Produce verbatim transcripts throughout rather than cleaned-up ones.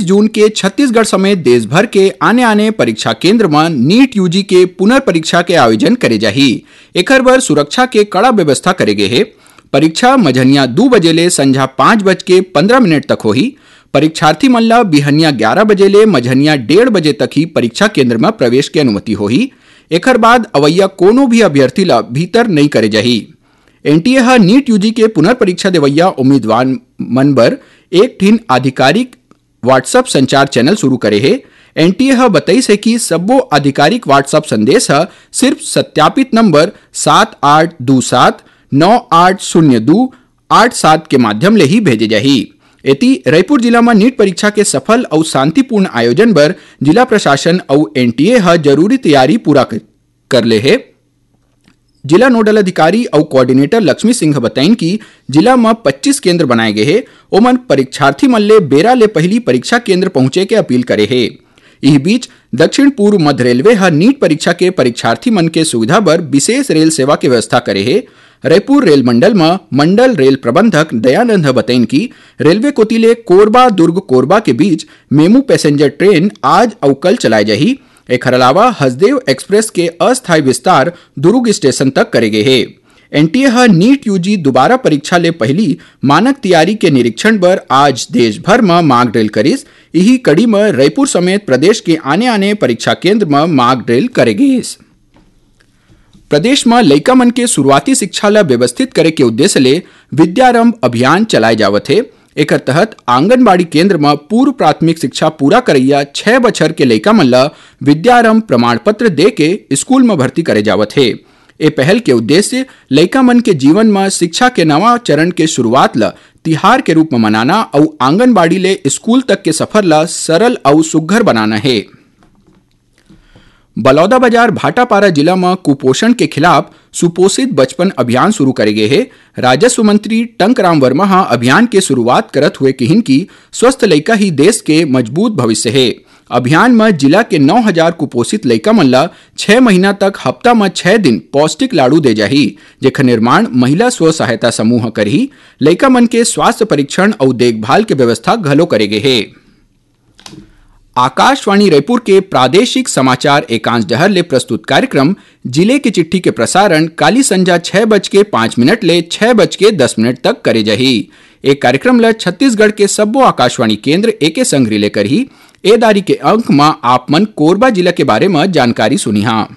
जून के छत्तीसगढ़ समेत देश भर के आने-आने परीक्षा केंद्र म नीट यूजी के पुनर्परीक्षा के आयोजन करे जाही। एखर बर सुरक्षा के कड़ा व्यवस्था करे गे हे। परीक्षा मझनिया दू बजे ले संझा पाँच बज के पंद्रह मिनट तक होही। परीक्षार्थी मन ल बिहनिया ग्यारह बजे ले मझनिया डेढ़ बजे तक ही परीक्षा केंद्र म प्रवेश के अनुमति होही। एखर बाद अवइया कोनो भी अभ्यर्थी ल भीतर नइ करे जाही। एनटीए ह नीट यूजी के पुनर्परीक्षा देवइया उम्मीदवार मन बर एक ठिन आधिकारिक WhatsApp संचार चैनल शुरू करे हे। एनटीए ह बतइस हे कि सब्बो आधिकारिक WhatsApp संदेश ह सिर्फ सत्यापित नंबर सात आठ दू सात नौ आठ शून्य दू आठ सात के माध्यम ले ही भेजे जाही। एती, रायपुर जिला म नीट परीक्षा के सफल अउ शांतिपूर्ण आयोजन बर जिला प्रशासन अउ एनटीए ह जरूरी तैयारी पूरा क-, कर ले हे। जिला नोडल अधिकारी अउ कोऑर्डिनेटर लक्ष्मी सिंह ह बताइन कि जिला म पच्चीस केंद्र बनाए गे हे, ओमन परीक्षार्थी मन ले बेरा ले पहिली परीक्षा केंद्र पहुंचे के अपील करे हे। इही बीच, दक्षिण पूर्व मध्य रेलवे ह नीट परीक्षा के परीक्षार्थी मन के सुविधा बर विशेष रेल सेवा के व्यवस्था करे हे। रायपुर रेल मंडल म मंडल रेल प्रबंधक दयानंद ह बतइन कि रेलवे कोति ले कोरबा दुर्ग कोरबा के बीच मेमू पैसेंजर ट्रेन आज अउ कल चलाए जाही। एखर अलावा हसदेव एक्सप्रेस के अस्थायी विस्तार दुर्ग स्टेशन तक करे गे हे। एनटीए ह नीट यूजी दोबारा परीक्षा ले पहिली मानक तैयारी के निरीक्षण बर आज देश भर म मॉक ड्रिल करिस। इही कड़ी म रायपुर समेत प्रदेश के आने-आने परीक्षा केंद्र म मॉक ड्रिल करे गिस। प्रदेश म लइका मन के शुरुआती शिक्षा ल व्यवस्थित करे के उद्देश्य ले विद्यारंभ अभियान चलाए जावत हे। एकर तहत आंगनबाड़ी केंद्र म पूर्व प्राथमिक शिक्षा पूरा करइया छह बछर के लइका मन ल विद्यारंभ प्रमाण पत्र दे के स्कूल म भर्ती करे जावत हे। ए पहल के उद्देश्य लइका मन के जीवन म शिक्षा के नवा चरण के शुरुआत ल तिहार के रूप म मनाना अउ आंगनबाड़ी ले स्कूल तक के सफर ल सरल अउ सुघ्घर बनाना हे। बलौदाबाजार भाटापारा जिला म कुपोषण के खिलाफ सुपोषित बचपन अभियान शुरू करे गे हे। राजस्व मंत्री टंकराम वर्मा ह अभियान के शुरुआत करत हुए किहिन कि स्वस्थ लइका ही देश के मजबूत भविष्य हे। अभियान म जिला के नौ हजार कुपोषित लइका मन ल छह महीना तक हफ्ता म छह दिन पौष्टिक लाड़ू दे जाही, जेखर निर्माण महिला स्व सहायता समूह करही। लइका मन के स्वास्थ्य परीक्षण अउ देखभाल के व्यवस्था घलो करे गे हे। आकाशवाणी रायपुर के प्रादेशिक समाचार एकांश डहर ले प्रस्तुत कार्यक्रम जिले की चिट्ठी के प्रसारण काली संझा छह बज के पाँच मिनट ले छह बज के दस मिनट तक करे जाही। ए कार्यक्रम ल छत्तीसगढ़ के सब्बो आकाशवाणी केंद्र एके संग रिले करही। ए दारी के अंक म आप मन कोरबा जिला के बारे म जानकारी सुनिहा।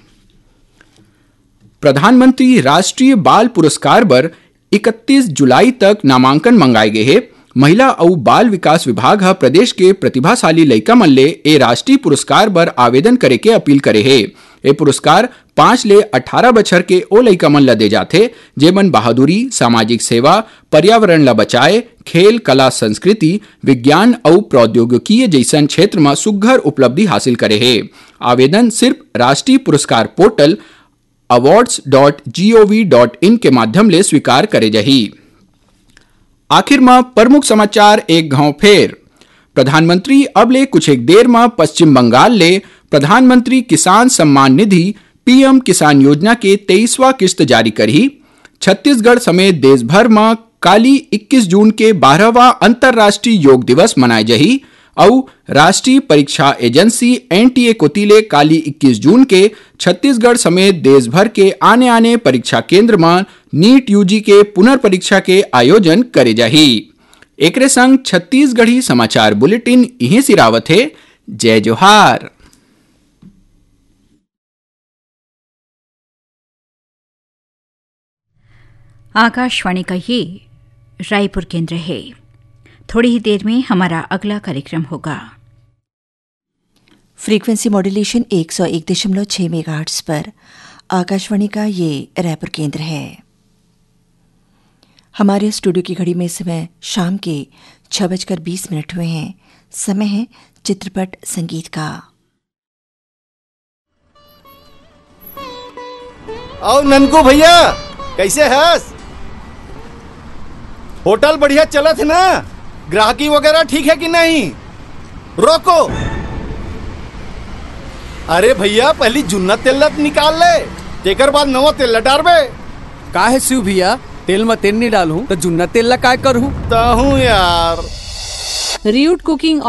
प्रधानमंत्री राष्ट्रीय बाल पुरस्कार बर इकतीस जुलाई तक नामांकन मंगाए गे हे। महिला अउ बाल विकास विभाग ह प्रदेश के प्रतिभाशाली लइका मन ले ए राष्ट्रीय पुरस्कार बर आवेदन करे के अपील करे हे। ए पुरस्कार पाँच ले अठारह बछर के ओ लइका मन ल दे जाथे, जेमन बहादुरी, सामाजिक सेवा, पर्यावरण ल बचाए, खेल, कला, संस्कृति, विज्ञान अउ प्रौद्योगिकीय जइसन क्षेत्र म सुघ्घर उपलब्धि हासिल करे हे। आवेदन सिर्फ राष्ट्रीय पुरस्कार portal awards dot gov dot in के माध्यम ले स्वीकार करे जाही। आखिर म प्रमुख समाचार एक घाव फेर। प्रधानमंत्री अब ले कुछ एक देर म पश्चिम बंगाल ले प्रधानमंत्री किसान सम्मान निधि, पीएम किसान योजना के तेईसवाँ किस्त जारी करही। छत्तीसगढ़ समेत देश भर म काली इक्कीस जून के बारहवाँ अंतर्राष्ट्रीय योग दिवस मनाए जाही। अउ राष्ट्रीय परीक्षा एजेंसी एनटीए कोति ले काली इक्कीस जून के छत्तीसगढ़ समेत देश भर के आने-आने परीक्षा केंद्र म नीट यूजी के पुनर्परीक्षा के आयोजन करे जाही। एकरे संग छत्तीसगढ़ी समाचार बुलेटिन इहें सिरावत हे। जय जोहार। आकाशवाणी का ये रायपुर केंद्र है। थोड़ी ही देर में हमारा अगला कार्यक्रम होगा। फ्रीक्वेंसी मॉड्यूलेशन एक सौ एक दशमलव छह मेगाहर्ट्ज पर आकाशवाणी का ये रायपुर केंद्र है। हमारे स्टूडियो की घड़ी में इस समय शाम के छह बजकर बीस मिनट हुए हैं। समय है चित्रपट संगीत का। अउ ननकू भैया, कैसे हस? होटल बढ़िया चलत हे ना? ग्राहकी वगैरह ठीक है कि नहीं? रोको। अरे भैया, पहली जुन्ना तेल ला निकाल ले, तेकर बाद नवा तेल ला डारबे। का हे शिव भैया, तेल में तेल नहीं डालूं तो जुन्ना तेल ला काय करूं? तहूं यार। रियूट कुकिंग